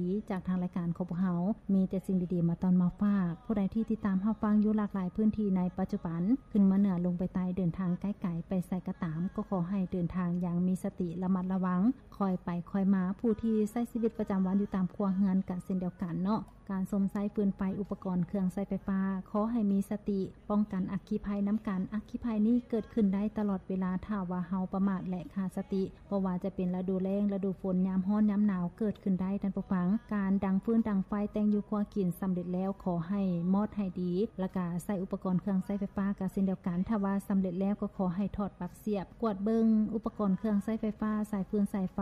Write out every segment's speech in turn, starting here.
ດີໆ ຈາກທາງລາຍການຂອງພວກເຮົາ ມີແຕ່ສິ່ງດີໆ ມາຕ້ອນມາຝາກ. ຜູ້ໃດທີ່ຕິດຕາມຮັບຟັງຢູ່ຫຼາກຫຼາຍພື້ນທີ່ໃນປັດຈຸບັນ ຂຶ້ນມາເໜືອລົງໄປໃຕ້ ເດີນທາງໄກໆ ໄປໃສກໍຕາມ ກໍຂໍໃຫ້ເດີນທາງຢ່າງມີສະຕິ ລະມັດລະວັງ ຄ່ອຍໄປຄ່ອຍມາ. ຜູ້ທີ່ໃຊ້ຊີວິດປະຈຳວັນຢູ່ຕາມຄົວເຮືອນກໍເຊັ່ນດຽວກັນເນາະ. ການຊົມໃຊ້ຟືນໄຟ ອຸປະກອນເຄື່ອງໃຊ້ໄຟຟ້າ ຂໍໃຫ້ມີສະຕິ ປ້ອງກັນອັກຄີໄພນຳກັນ. ອັກຄີໄພນີ້ເກີດຂຶ້ນໄດ້ຕະຫຼອດເວລາ ຖ້າວ່າເຮົາປະໝາດ ແລະ ຂາດສະຕິ. ບໍ່ວ່າຈະເປັນລະດູແລ້ງ, ລະດູຝົນ, ຍາມຮ້ອນ, ຍາມໜາວ ເກີດຂຶ້ນໄດ້ ທ່ານຜູ້ຟັງ. ການດັງຟືນດັງໄຟ ແຕ່ງຢູ່ຄົວກິນສຳເລັດແລ້ວ ຂໍໃຫ້ມອດໃຫ້ດີ ແລ້ວກະໃຊ້ອຸປະກອນເຄື່ອງໃຊ້ໄຟຟ້າກະເຊັ່ນດຽວກັນ. ຖ້າວ່າສຳເລັດແລ້ວ ກໍຂໍໃຫ້ຖອດປັກສຽບ ກວດເບິ່ງອຸປະກອນເຄື່ອງໃຊ້ໄຟຟ້າ, ສາຍຟືນສາຍໄຟ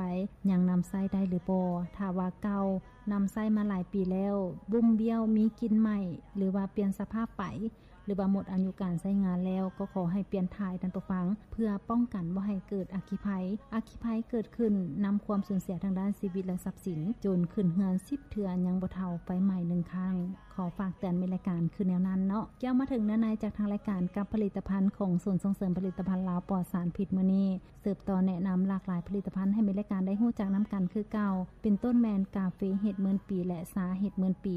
ຍັງນຳໃຊ້ໄດ້ຫຼືບໍ່. ຖ້າວ່າເກົ່າ ນຳໃຊ້ມາຫຼາຍປີແລ້ວ ບຸ້ມບ້ຽວ, ມີກິ່ນໄໝ້ ຫຼືວ່າປ່ຽນສະພາບໄປ ຫຼືວ່າໝົດອາຍຸການໃຊ້ງານແລ້ວ ກໍຂໍໃຫ້ປ່ຽນຖ່າຍ ທ່ານຜູ້ຟັງ, ເພື່ອປ້ອງກັນບໍ່ໃຫ້ເກີດອັກຄີໄພ. ອັກຄີໄພເກີດຂຶ້ນນຳຄວາມສູນເສຍທາງດ້ານຊີວິດ ແລະ ຊັບສິນ, ໂຈນຂຶ້ນເຮືອນສິບເທື່ອຍັງບໍ່ເທົ່າໄຟໄໝ້ໜຶ່ງຄັ້ງ. ຂໍຝາກເຕືອນແມ່ນລາຍການຄືແນວນັ້ນເນາະ. ກ່ຽວມາເຖິງເນື້ອໃນຈາກທາງລາຍການກັບຜະລິດຕະພັນຂອງສູນສົ່ງເສີມຜະລິດຕະພັນລາວປອດສານພິດມື້ນີ້, ສືບຕໍ່ແນະນຳຫຼາກຫຼາຍຜະລິດຕະພັນໃຫ້ແມ່ນລາຍການໄດ້ຮູ້ຈັກນຳກັນຄືເກົ່າ, ເປັນຕົ້ນແມ່ນກາເຟເຮັດໝື່ນປີ ແລະ ຊາເຮັດໝື່ນປີ.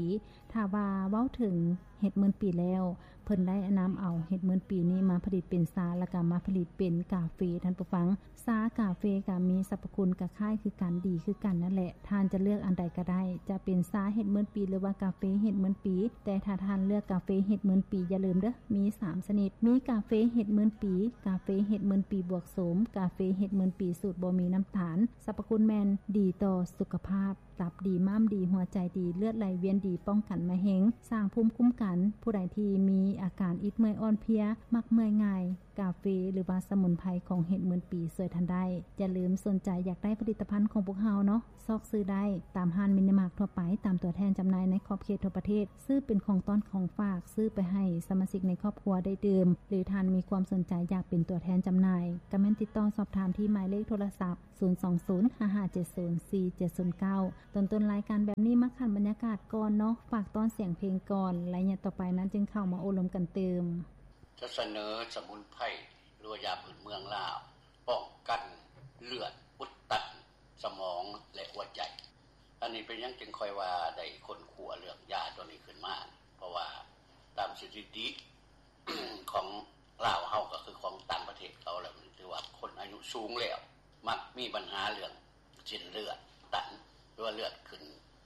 ຖ້າວ່າເວົ້າເຖິງເຮັດໝື່ນປີແລ້ວ, ເພິ່ນໄດ້ນຳເອົາເຫັດໝື່ນປີນີ້ມາຜະລິດເປັນຊາ ແລ້ວກໍມາຜະລິດເປັນກາເຟ, ທ່ານຜູ້ຟັງ. ຊາກາເຟກໍມີສັບພະຄຸນກໍຄ້າຍຄືກັນ, ດີຄືກັນນັ້ນແຫຼະ. ທ່ານຈະເລືອກອັນໃດກໍໄດ້, ຈະເປັນຊາເຫັດໝື່ນປີ ຫຼືວ່າກາເຟເຫັດໝື່ນປີ. ແຕ່ຖ້າທ່ານເລືອກກາເຟເຫັດໝື່ນປີ, ຢ່າລືມເດີ້, ມີສາມຊະນິດ, ມີກາເຟເຫັດໝື່ນປີ, ກາເຟເຫັດໝື່ນປີບວກໂສມ, ກາເຟເຫັດໝື່ນປີສູດບໍ່ມີນ້ຳຕານ. ສັບພະຄຸນແມ່ນດີຕໍ່ສຸຂະພາບ. ຕັບດີ, ມ້າມດີ, ຫົວໃຈດີ, ເລືອດໄຫຼວຽນດີ, ປ້ອງກັນມະເຮັງ, ສ້າງພູມຄຸ້ມກັນ. ຜູ້ໃດທີ່ມີອາການອິດເມື່ອຍອ່ອນເພຍ, ມັກເມື່ອຍງ່າຍ, ກາເຟ ຫຼືວ່າສະໝຸນໄພຂອງເຫັດໝື່ນປີຊ່ວຍທ່ານໄດ້. ຢ່າລືມ, ສົນໃຈຢາກໄດ້ຜະລິດຕະພັນຂອງພວກເຮົາເນາະ, ຊອກຊື້ໄດ້ຕາມຮ້ານມິນິມາດທົ່ວໄປ, ຕາມຕົວແທນຈຳໜ່າຍໃນຂອບເຂດທົ່ວປະເທດ. ຊື້ເປັນຂອງຕ້ອນຂອງຝາກ, ຊື້ໄປໃຫ້ສະມາຊິກໃນຄອບຄົວໄດ້ດື່ມ, ຫຼືທ່ານມີຄວາມສົນໃຈຢາກເປັນຕົວແທນຈຳໜ່າຍ, ກໍແມ່ນຕິດຕໍ່ສອບຖາມທີ່ໝາຍເລກໂທລະສັບ ສູນສອງສູນ ຫ້າຫ້າເຈັດສູນ ສີ່ເຈັດສູນເກົ້າ. ຕົ້ນໆລາຍການແບບນີ້ ມາຂັນບັນຍາກາດກ່ອນເນາະ, ຝາກຕ້ອນສຽງເພງກ່ອນ, ໄລຍະຕໍ່ໄປນັ້ນຈຶ່ງເຂົ້າມາໂອ້ລົມກັນຕື່ມ. ຈະສະເໜີສະໝຸນໄພ ຫຼືວ່າຢາພື້ນເມືອງລາວ ປ້ອງກັນເລືອດອຸດຕັນສະໝອງ ແລະ ຫົວໃຈ. ອັນນີ້ເປັນຫຍັງຈຶ່ງຄ່ອຍວ່າໄດ້ຄົ້ນຄວ້າເລື່ອງຢາຕົວນີ້ຂຶ້ນມາ? ເພາະວ່າຕາມສະຖິຕິຂອງລາວເຮົາ ກໍຄືຂອງຕ່າງປະເທດເຂົາແລ້ວ, ຖືວ່າຄົນອາຍຸສູງແລ້ວ ມັກມີບັນຫາເລື່ອງເສັ້ນເລືອດຕັນ ຫຼືວ່າເລືອດຂຶ້ນ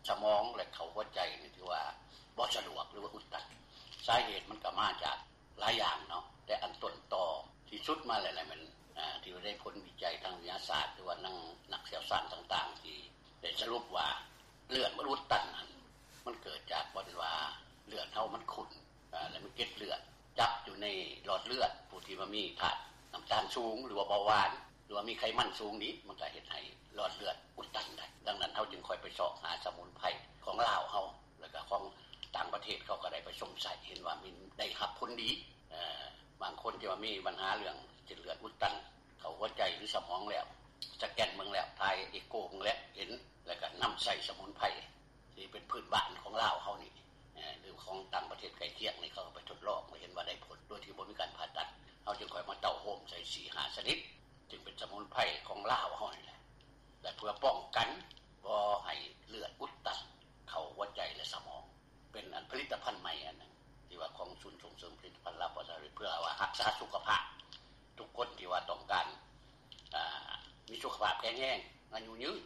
ສະໝອງ ແລະ ເຂົ້າຫົວໃຈນີ້ ຖືວ່າບໍ່ສະດວກ ຫຼືວ່າອຸດຕັນ. ສາເຫດມັນກໍມາຈາກຫຼາຍຢ່າງເນາະ, ແຕ່ອັນຕົ້ນຕໍທີ່ສຸດມາແລ້ວແມ່ນ ອາ ທີ່ໄດ້ຜົນວິໄຈທາງວິທະຍາສາດ ຫຼືວ່ານັກ ນັກຊ່ຽວຊານຕ່າງໆ ທີ່ໄດ້ສະຫຼຸບວ່າເລືອດມັນອຸດຕັນນັ້ນ ມັນເກີດຈາກບ່ອນວ່າເລືອດເຮົາມັນຂຸ້ນ ອາ ແລະ ມີເກັດເລືອດຈັບຢູ່ໃນຫຼອດເລືອດ. ຜູ້ທີ່ວ່າມີທາດນ້ຳຕານສູງ ຫຼືວ່າເບົາຫວານ ຫຼືວ່າມີໄຂມັນສູງນີ້ ມັນກໍເຮັດໃຫ້ຫຼອດເລືອດອຸດຕັນໄດ້. ດັ່ງນັ້ນ ເຮົາຈຶ່ງຄ່ອຍໄປຊອກຫາສະໝຸນໄພຂອງລາວເຮົາ ແລ້ວກໍຂອງຕ່າງປະເທດ ເຂົາກໍໄດ້ໄປຊົມໃຊ້ ເຫັນວ່າມີ ໄດ້ຮັບຜົນດີ. ເອີ ບາງຄົນທີ່ວ່າມີບັນຫາເລື່ອງເສັ້ນເລືອດອຸດຕັນເຂົ້າຫົວໃຈ ຫຼື ສະໝອງແລ້ວ ສະແກນເບິ່ງແລ້ວ ຖ່າຍເອໂກເບິ່ງແລ້ວເຫັນ ແລ້ວກໍນຳໃຊ້ສະໝຸນໄພ ທີ່ເປັນພື້ນບ້ານຂອງລາວເຮົານີ້ ເອີ ຫຼືຂອງຕ່າງປະເທດໃກ້ຄຽງນີ້ ເຂົາກໍໄປທົດລອງ ແລ້ວເຫັນວ່າໄດ້ຜົນ ໂດຍທີ່ບໍ່ມີການຜ່າຕັດ. ເຮົາຈຶ່ງຄ່ອຍມາເຕົ້າໂຮມໃສ່ສີ່ຫ້າຊະນິດ ຈຶ່ງເປັນສະໝຸນໄພຂອງລາວເຮົານີ້ແຫຼະ ແລະ ເພື່ອປ້ອງກັນບໍ່ໃຫ້ເລືອດອຸດຕັນເຂົ້າຫົວໃຈ ແລະ ສະໝອງ. ເປັນອັນຜະລິດຕະພັນໃໝ່ອັນໜຶ່ງ ທີ່ວ່າຂອງສູນສົ່ງເສີມຜະລິດຕະພັນລາວປອດສານພິດ ເພື່ອວ່າຮັກສາສຸຂະພາບ ທຸກຄົນທີ່ວ່າຕ້ອງການ ອາ ມີສຸຂະພາບແຂງແຮງ ອາຍຸຍືນ